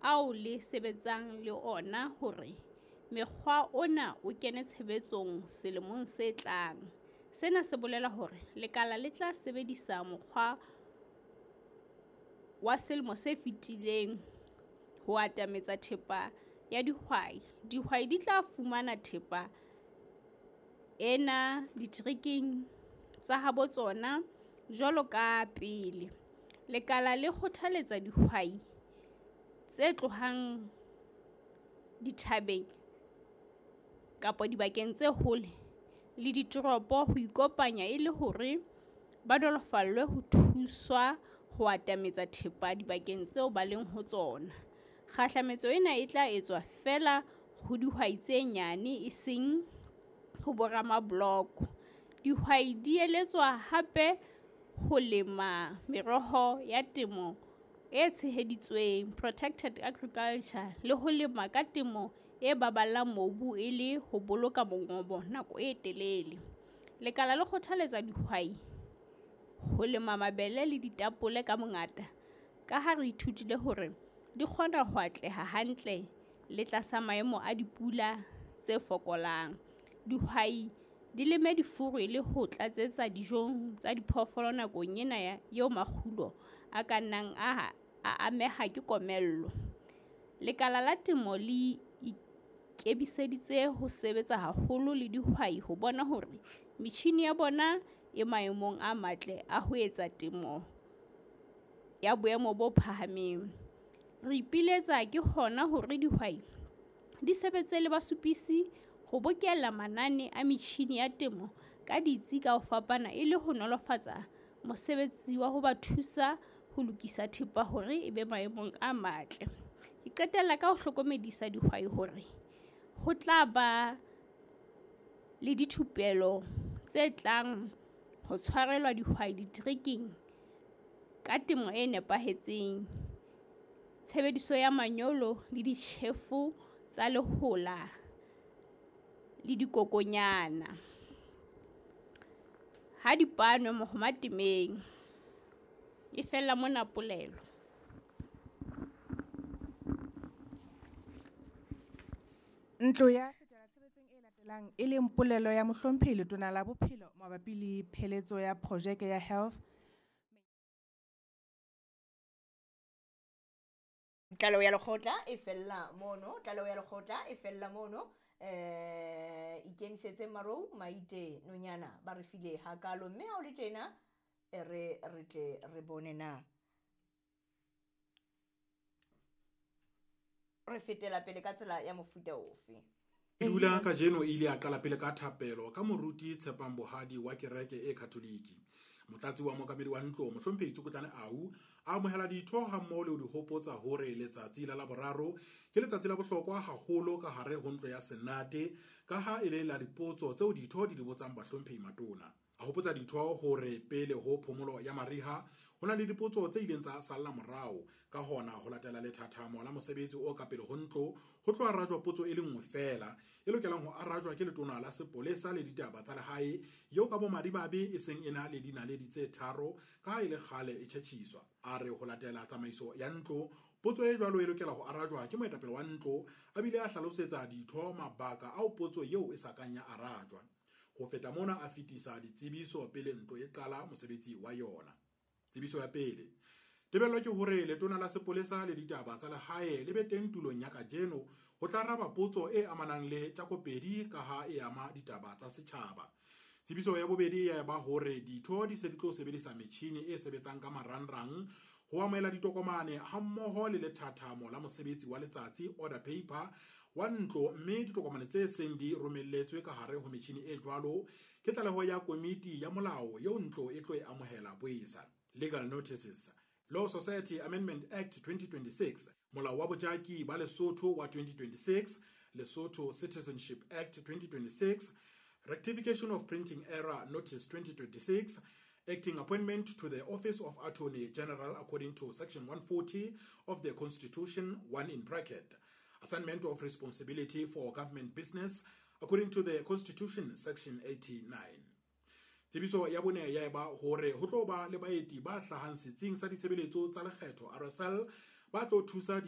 ao le sebetsang le ona hore mokgwa ona o kene tshebetsong selemong se tlang. Sena se bolela hore lekala le tla sebedisa mokgwa wa selemo se fetileng ho atametsa thepa ya dihwai. Dihwai di tla fumana thepa ena diterekeng tsa habo tsona jwalo ka pele. Lekala le kgothaletsa dihwai tse tlohang dithabeng kapa dibakeng tse hole le ditoropo ho ikopanya e le hore ba nolofallwe ho thuswa ho atametsa thepa dibakeng tseo ba leng ho tsona. Kgahlametso ena e tla etswa feela ho dihwai tse nyane eseng ho boramaboloko. Dihwai di eletswa hape ho lema meroho ya temo e tsheheditsweng, protected agriculture, le ho lema ka temo e baballang mobu e le ho boloka mongobo nako e telele. Lekala le kgothaletsa dihwai ho lema mabele le ditapole ka bongata ka ha re ithutile hore di kgona ho atleha hantle le tlasa maemo a dipula tse fokolang. Dihwai di leme difuru e le ho tlatsetsa dijong tsa diphoofolo nakong ena eo makgulo a ka nnang a ameha ke komello. Lekala la Temo le ikemiseditse ho sebetsa haholo le dihwai ho bona hore metjhine ya bona e maemong a matle a ho etsa temo ya boemo bo phahameng. Re ipiletsa ke hona hore dihwai di sebetse le basupisi ho bokella manane a metjhine ya temo ka ditsi ka ho fapana e le ho nolofatsa mosebetsi wa ho ba thusa ho lokisa thepa hore e be maemong a matle. Ke qetella ka ho hlokomedisa dihwai hore ho tla ba le dithupelo tse tlang ho tshwarelwa dihwai diterekeng ka temo e nepahetseng, tshebediso ya manyolo le ditjhefo tsa lehola le dikokwanyana. Ha di panwe mohoma temeng. E fella mona polelo. Ntlo ya fetela tshebetsong e latelang e leng polelo ya Mohlomphehi Letona la Bophelo mabapi le pheletso ya projeke ya Health Tlaleho ya lekgotla e fella mono, tlaleho ya lekgotla e fella mono. Ikemisetse Marou Maite Nonyana ba re file hakalo mme ha o le tjena e re re tle re bone na re fetela pele ka tsela ya mofuta ofe. Dula kajeno e ile ya qala pele ka thapelo ka moruti Tshepang Bohadi wa kereke e Katholiki. Motlatsi wa mookamedi wa ntlo Mohlomphehi Tsokotlane Au a amohela ditho hammoho le ho di hopotsa hore letsatsi la Laboraro ke letsatsi la bohlokwa haholo ka hare ho ntlo ya Senate ka ha e le la dipotso tseo ditho di di botsang bahlomphehi matona. A hopotsa ditho hore pele ho phomolo ya mariha ho na le dipotso tse ileng tsa salla morao, ka hona ho latela lethathamo la mosebetsi o ka pele ho ntlo ho tlo arajwa potso e le nngwe feela e lokelang ho arajwa ke letona la sepolesa le ditaba tsa lehae eo ka bomadimabe e seng e na le dinaledi tse tharo ka ha e le kgale e tjhetjhiswa. A re ho latela tsamaiso ya ntlo potso e jwalo e lokela ho arajwa ke moetapele wa ntlo, a bile a hlalosetsa ditho mabaka ao potso eo e sa kang ya arajwa. Ho feta mona a fetisa ditsebiso pele ntlo e qala mosebetsi wa yona. Tsebiso ya pele. Tebello ke hore letona la sepolesa le ditaba tsa lehae le be teng tulong ya kajeno ho tla araba potso e amanang le Tjakopedi ka ha e ama ditaba tsa setjhaba. Tsebiso ya bobedi ya ba hore ditho di se di tlo sebedisa metjhini e sebetsang ka marangrang ho amohela ditokomane hammoho le lethathamo la mosebetsi wa letsatsi order paper wa ntlo, mme ditokomane tse seng di romelletswe ka hare ho metjhini e jwalo ke tlaleho ya komiti ya molao eo ntlo e tlo e amohela boesa. Legal Notices, Law Society Amendment Act 2026, Molao wa Bojaki ba Lesotho wa 2026, Lesotho Citizenship Act 2026, Rectification of Printing Error Notice 2026, Acting Appointment to the Office of Attorney General according to Section 140 of the Constitution, 1 in bracket, Assignment of Responsibility for Government Business according to the Constitution, Section 89. Tsebiso ya bone ya eba hore ho tlo ba le baeti ba hlahang setsing sa ditshebeletso tsa lekgetho RSL ba tlo thusa di